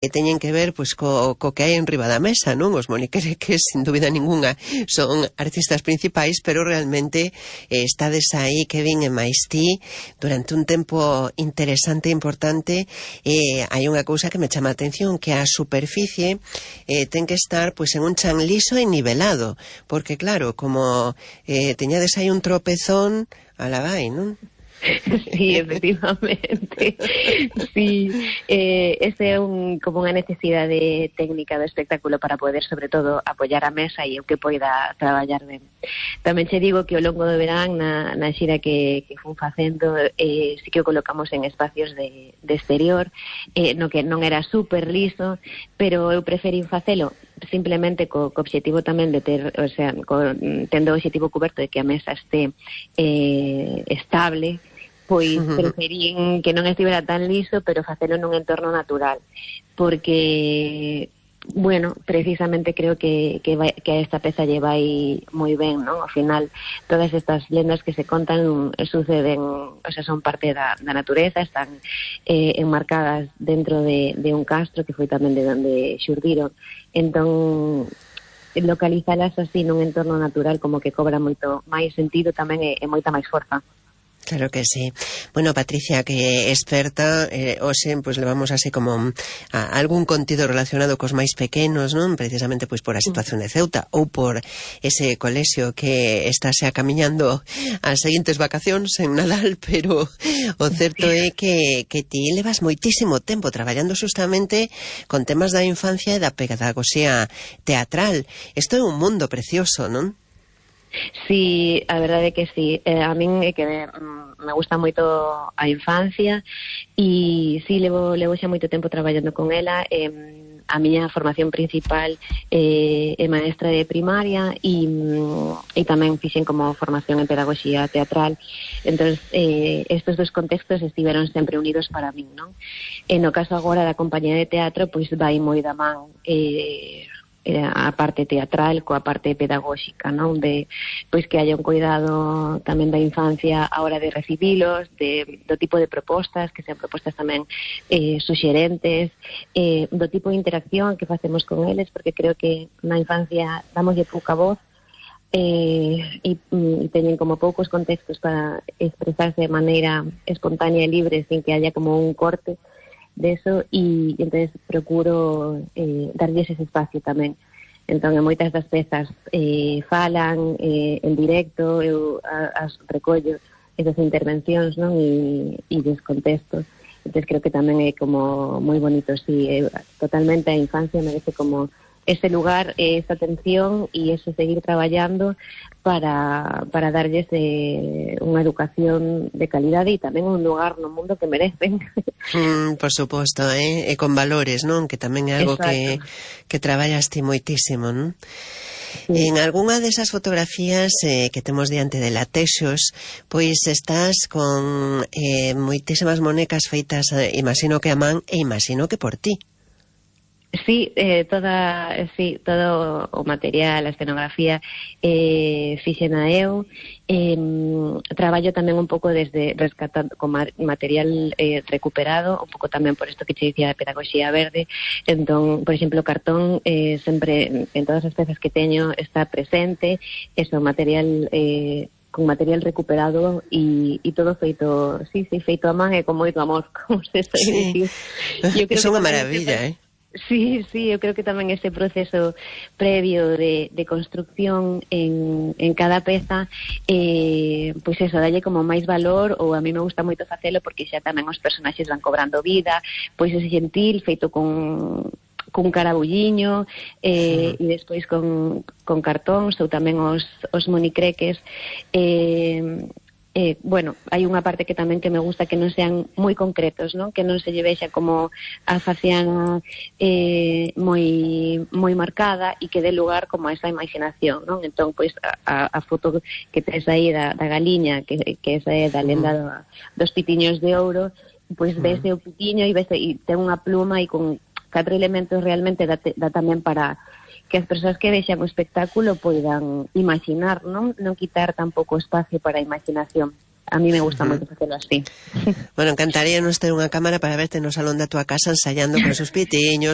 teñen que ver pois co que hai en riba da mesa, non? Os moniquereques, sin dúbida ninguna, son artistas principais, pero realmente estades aí, Kevin e máis ti, durante un tempo interesante e importante. Hai unha cousa que me chama a atención, que a superficie ten que estar pois en un chan liso e nivelado, porque claro, como teñades aí un tropezón, ala vai, non? Sí, efectivamente. Sí, ese é como unha necesidade técnica do espectáculo para poder, sobre todo, apoiar a mesa e o que poida traballar ben. Tamén che digo que ao longo do verán, na xira que fun facendo, sí que o colocamos en espacios de exterior, no que non era super liso, pero eu preferín facelo simplemente co obxectivo tamén de ter, o sea, tendo o obxectivo coberto de que a mesa este estable, pois preferín que non estivera tan liso, pero facelo nun entorno natural, porque, bueno, precisamente creo que esta peza lle vai moi ben, non? Ao final, todas estas lendas que se contan suceden, o sea, son parte da natureza, están enmarcadas dentro de un castro que foi tamén de onde xurdiron. Entón, localizalas así nun entorno natural como que cobra moito máis sentido tamén e moita máis forza. Claro que sí. Bueno, Patricia, que experta, hoxe, pois levamos así como algún contido relacionado cos máis pequenos, non? Precisamente pois por a situación de Ceuta ou por ese colexio que está xa camiñando as seguintes vacacións en Nadal, pero o certo é que ti levas moitísimo tempo traballando justamente con temas da infancia e da pedagogía teatral. Isto é un mundo precioso, non? Sí, a verdade é que sí. A min é que me gusta moito a infancia e sí, levo xa moito tempo traballando con ela. A miña formación principal é maestra de primaria e tamén fixen como formación en pedagogía teatral. Entón, estes dos contextos estiveron sempre unidos para min, non? No caso agora da compañía de teatro, pois vai moi da man a parte teatral coa parte pedagóxica, non? De pois que haya un cuidado tamén da infancia a hora de recibilos, do tipo de propostas, que sean propostas tamén suxerentes, do tipo de interacción que facemos con eles, porque creo que na infancia damoslle pouca voz e teñen como poucos contextos para expresarse de maneira espontánea e libre sin que haya como un corte de eso, e entonces procuro darlles ese espacio tamén. Entón, en moitas das pezas falan en directo, eu as recollo esas intervencións, non? E descontextos. Entón, creo que tamén é como moi bonito, sí, totalmente a infancia merece como ese lugar, esa atención e ese seguir traballando para darlles unha educación de calidade e tamén un lugar no mundo que merecen. Por suposto, e con valores, non? Que tamén é algo que traballas ti moitísimo, non? Sí. En algunha desas fotografías que temos diante de Latexos, pois estás con moitísimas monecas feitas, imagino que a man e imagino que por ti. Sí, todo o material, a escenografía fixena eu. Traballo tamén un pouco desde rescatando con material recuperado, un pouco tamén por isto que te dicía de pedagogía verde. Entón, por exemplo, o cartón sempre en todas as pezas que teño está presente, eso, material con material recuperado e todo feito, feito a man e con moito amor, como se está dicir. É unha maravilla, Sí, eu creo que tamén ese proceso previo de construcción en cada peza, pois eso, dalle como máis valor, ou a mí me gusta moito facelo porque xa tamén os personaxes van cobrando vida, pois ese gentil feito con carabulliño e despois con cartóns ou tamén os monicreques. Bueno, hai unha parte que tamén que me gusta que non sean moi concretos, non? Que non se lle vexa como a faciana moi marcada e que dé lugar como a esa imaginación, non? Entón, pois, a foto que tes aí da galiña, que esa é da lenda dos pitiños de ouro, pois vese o pitiño e ten unha pluma e con 4 elementos realmente dá tamén para que as persoas que vexan o espectáculo poidan imaginar, non quitar tampouco espacio para a imaginación. a mí me gusta moito facelo así. Bueno, encantaría nos ter unha cámara para verte no salón da tua casa ensaiando con esos pitiños,